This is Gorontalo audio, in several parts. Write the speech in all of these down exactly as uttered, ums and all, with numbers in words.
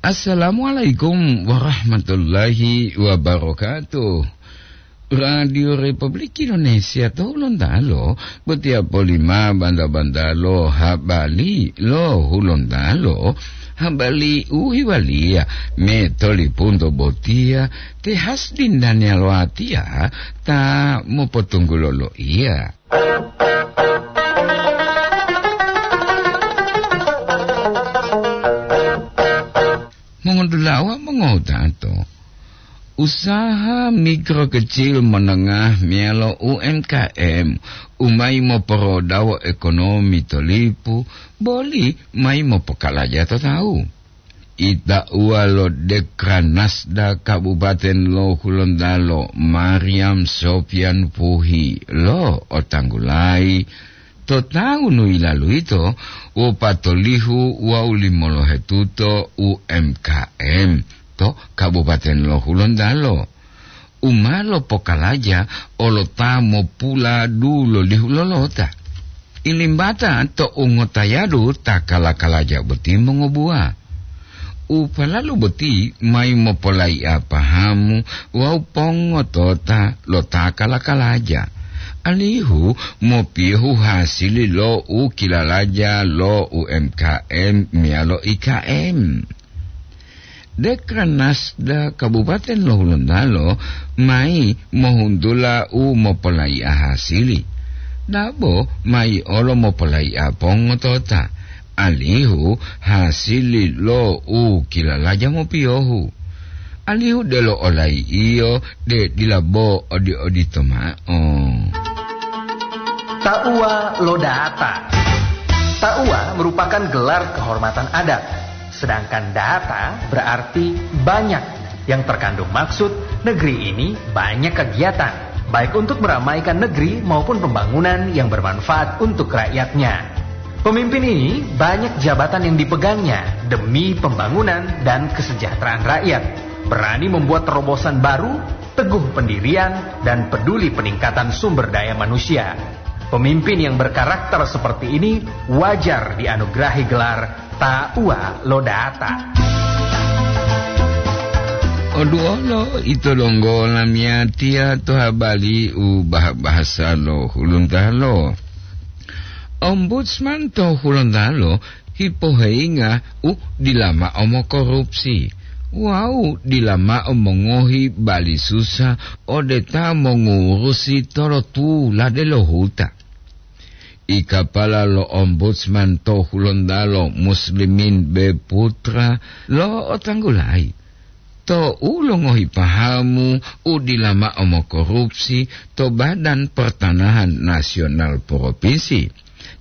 Assalamualaikum warahmatullahi wabarakatuh. Radio Republik Indonesia to Hulontalo, botiya polima banda-banda lo habari lo Hulontalo, habari u hiwaliya me tolipunto botiya, te Hasdin Daniel Watiya ta mopotunggulo loiya. Mongodulawa mongotato, usaha mikro kecil menengah meyalo U M K M u mayi moporodawo ekonomi to lipu, boli mayi mopokalaja to tawu. Itauwa lo Dekranasda Kabupaten lo Hulontalo, Mariam Sofian Puhi, lo otanggulayi to tawu nu yilalu yito wopatolihu wawu limolohetuto U M K M to Kabupaten lo Hulontalo, u ma lopokalaja olo ta mopula dulolihu lolota. Ilimbata to ungotayadu ta kala-kalaja boti mongobuwa. U palalu boti mayi mopolayi'a pahamu wawu pongotota lo ta kala-kalaja, alihu mopiyohu hasili lo u kilalaja lo U M K M meyalo I K M. Dekranasda Kabupaten lo Hulontalo mayi mohuntula u mopolayi'a hasili, dabo mayi olo mopolayi'a pongotota, alihu hasili lo u kilalaja mopiyohu, alihu delo olayi'iyo de dila bo odi-odito mao. Tauwa lo data. Tauwa merupakan gelar kehormatan adat, sedangkan data berarti banyak. Yang terkandung maksud, negeri ini banyak kegiatan, baik untuk meramaikan negeri maupun pembangunan yang bermanfaat untuk rakyatnya. Pemimpin ini banyak jabatan yang dipegangnya demi pembangunan dan kesejahteraan rakyat. Berani membuat terobosan baru, teguh pendirian, dan peduli peningkatan sumber daya manusia. Pemimpin yang berkarakter seperti ini wajar dianugerahi gelar Tauwa lo Data. Oduolo ito donggo lamiyatiya to habari u bah-, bahasa lo Hulontalo. Ombudsman to Hulontalo hipoheyinga u dila mao mokorupsi wawu dila mao mongohi bali susa ode ta mongurusi tolotula delo huta. I kapala lo Ombudsman to Hulontalo, Muslimin B Putra, lo otanggulayi to u longohi pahamu u dila mao mokorupsi to Badan Pertanahan Nasional Provinsi.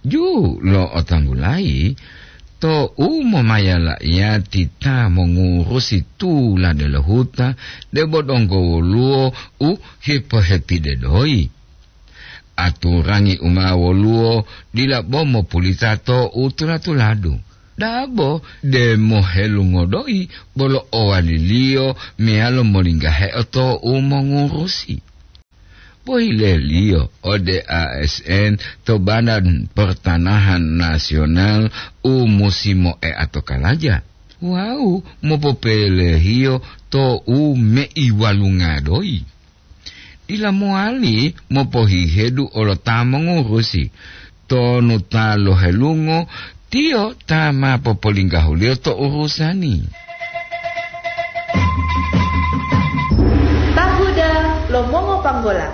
Ju lo otanggulayi to u momaya la'iyati ta mongurusi tulade lo huta, debo donggo woluwo u hipohepide doyi. Aturangi u ma woluwo dila bo mopulita to u tula-tuladu. Dabo de mohelungo doyi bolo owaliliyo meyalo molinggaheo to u mongurusi. Pohileliyo ode A S N to Badan Pertanahan Nasional u musi moeato kalaja wawu mopopelehiyo to u meiwalunga doyi. Dila mowali mopohihedu olo ta mongurusi, tonu ta lohelungo, tiyo ta ma popolinggahuliyo to urusani. Tahuda lo mongopanggola.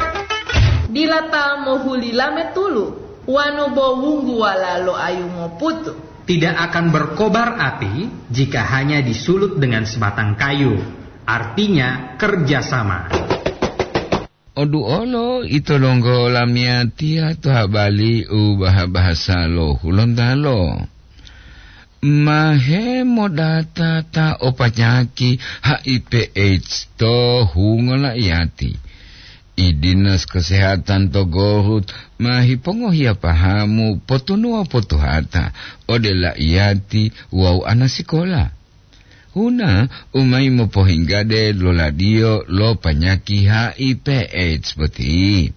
Dila ta mohuli lame tulu, wanu bo wungguwala lo ayu moputu. Tidak akan berkobar api jika hanya disulut dengan sebatang kayu, artinya kerjasama. Oduolo ito donggo lamiyatiya to habari u baha-bahasa lo Hulontalo. Mahe modata ta o panyaki H I V AIDS to hungo la'iyati. I Dinas Kesehatan to Gorut ma hipongohiya pahamu potunuwa potuhata ode la'iyati wawu anasikola. Huna u mayi mopohinggade loladiyo lo panyaki H I V AIDS boti.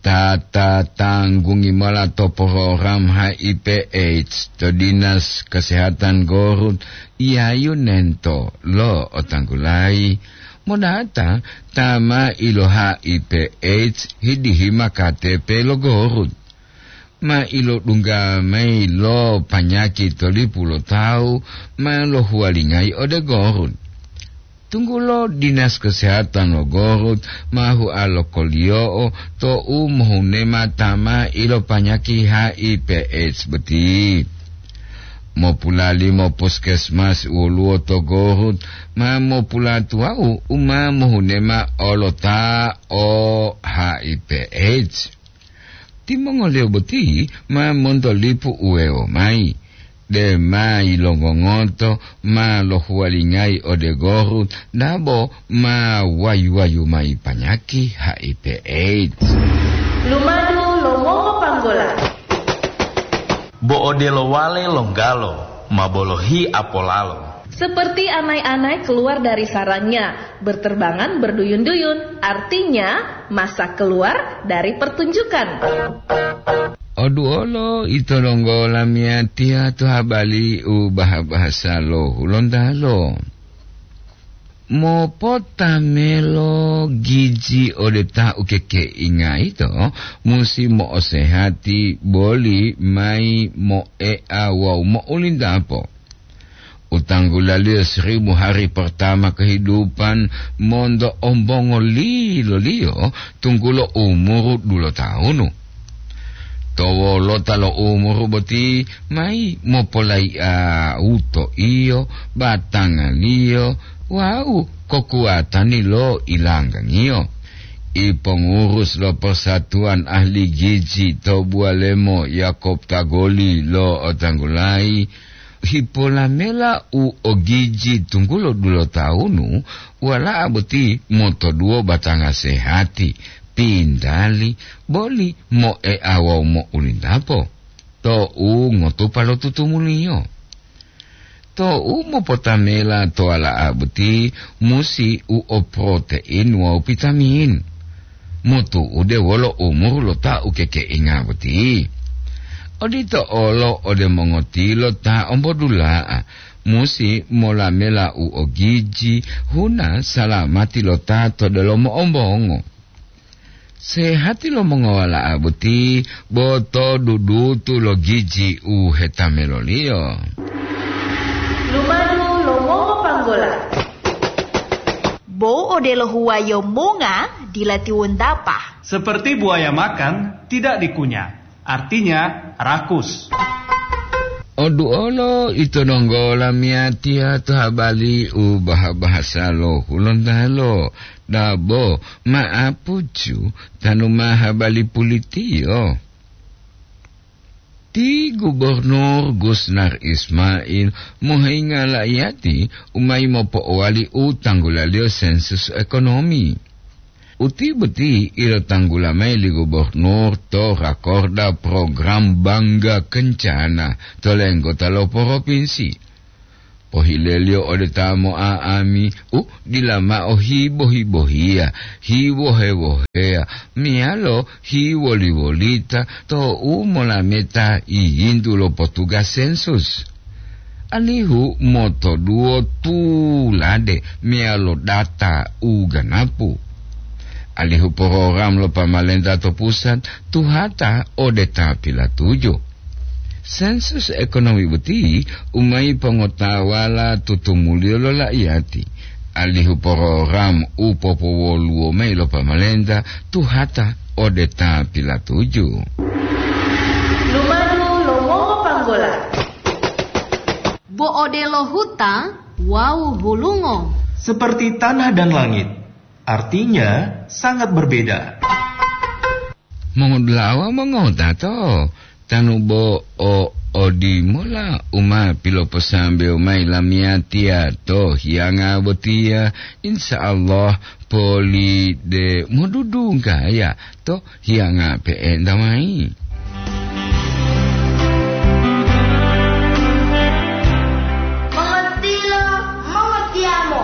Ta tatanggungi mola to program H I V AIDS to Dinas Kesehatan Gorut, Yayu Nento lo otanggulayi, modata ta ma ilo H I V AIDS hidihima K T P lo Gorut. Ma ilodungga mayi lo panyaki to lipu lo tawu ma lohuwalingayi ode Gorut. Tunggulo Dinas Kesehatan lo Gorut ma hua lokoliyo'o to'u mohunema ta ma ilopanyaki H I V AIDS boti. Mopulalimo puskesmas woluwo to Gorut ma mopulatuwau u ma mohunema olota o H I V AIDS. Timongoliyo boti ma monto lipu uwewo mayi, de ma yilongongoto ma lohuwalingayi ode Gorut dabo ma wayu-wayu mayi panyaki H I V AIDS. Lumadu lo mongopanggola. Bo odelo wale longgalo ma bolohi apolalo. Seperti anai-anai keluar dari sarangnya, berterbangan berduyun-duyun, artinya masa keluar dari pertunjukan. Oduolo ito donggo lamiyatiya to habali u baha-bahasa lo Hulontalo. Mopotamelo giji ode ta ukekeinga ito musi mo'osehati boli mayi mo'ea wawu mo'ulintapo. Utanggulaliyo seribu hari pertama kehidupan monto ombongo liloliyo tunggulo umuru dulotawunu. To wolota lo umuru boti mayi mopolayi'a uto'iyo, batangaliyo wawu kokuwatani lo ilanggangiyo. Ipongurus lo Persatuan Ahli Giji to Buwalemo Yakob Tagoli lo otanggulayi, hipolamela u ogiji tunggulo dulotawunu, wala'a boti motoduwo batanga sehati, pintali, boli mo'ea wawu mo'ulintapo, to'u ngotupa lo tutumuliyo. To'u mopotamela to wala'a boti musi u o protein wawu vitamin. Motu'ude wolo umuru lo ta ukekeinga boti. Odito olo ode mongotilo ta ombodula'a, musi molamela u ogiji, huna salamati lo ta to delomo ombongo. Sehati lo mongowala'a boti bo to dudutu lo giji u hetameloliyo. Lumadu lo mongopanggola. Bo odelo huwayo monga dila tiwontapa. Seperti buaya makan, tidak dikunyah. Artinya, rakus. Oduolo ito donggo lamiyatiya to habali u baha-bahasa lo Hulontalo, dabo ma'apucu tanu ma habali pulitiyo. Ti Gubernur Gusnar Ismail mohingga la'iyati u mayi mopo'owali u tanggulaliyo sensus ekonomi. Uti boti ilotanggula mayi li gubernur to rakorda program Bangga Kencana to lenggota lo poropinsi. Pohileliyo ode ta mo'a'ami u dila mao hibo-hibohiya, hiwohe-woheya, meyalo hiwoli-wolita to'u molameta yiyintu lo potugas sensus. Alihu motoduwo tulade meyalo data u ganapu. Alihu program lo pamalenta to pusat tuhata ode ta pilatuju. Sensus ekonomi boti u mayi pongotawala tutumuliyo lo la'iyati, alihu program u popowoluwo mayi lo pamalenta tuhata ode ta pilatuju. Lumadu lo mongopanggola. Bo odelo huta wawu hulungo. Seperti tanah dan langit, artinya sangat berbeda. Mongodula'a wawu mongotato, tanu bo o odimola u ma piloposambewo mayi lamiyatiya to hiyanga botiya, insya Allah poli de modudunggaya to hiyanga pe'enta mayi. Mongatilo, mongotiyamo,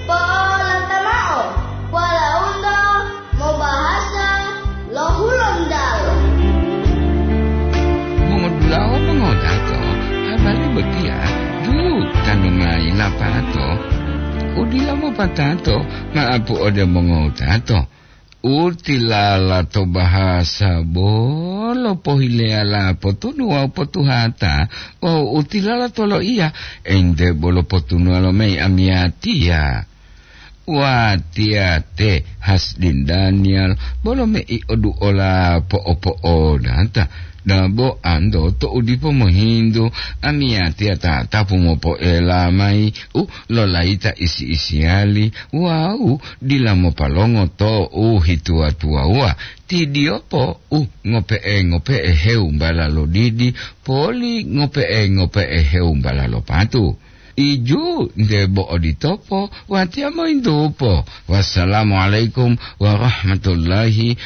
po'olanta mao, walaundo mobahasa lo Hulontalo. To, u dila mopatato ma'apu ode mongowutato. U tilala to bahasa bolo pohileyala potunu wawu potuhata, wawu u tilala to loiya, ente bolo potunuwa lo mayi amiyatiya. Watiya te Hasdin Daniel, bolo mei oduola po'opo'odata. Dabo ando to u dipo mohintu, amiyatiya tatapu mopoela mayi u lolayita isi-isiyali wawu dila mopalongo to u hituwa-tuwawuwa. Ti diyopo u ngope'e-ngope'e hewumbala lo didi, poli ngope'e-ngope'e hewumbala lo patu. Iju nte bo oditopo, watiya moyintupo. Wassalamualaikum warahmatullahi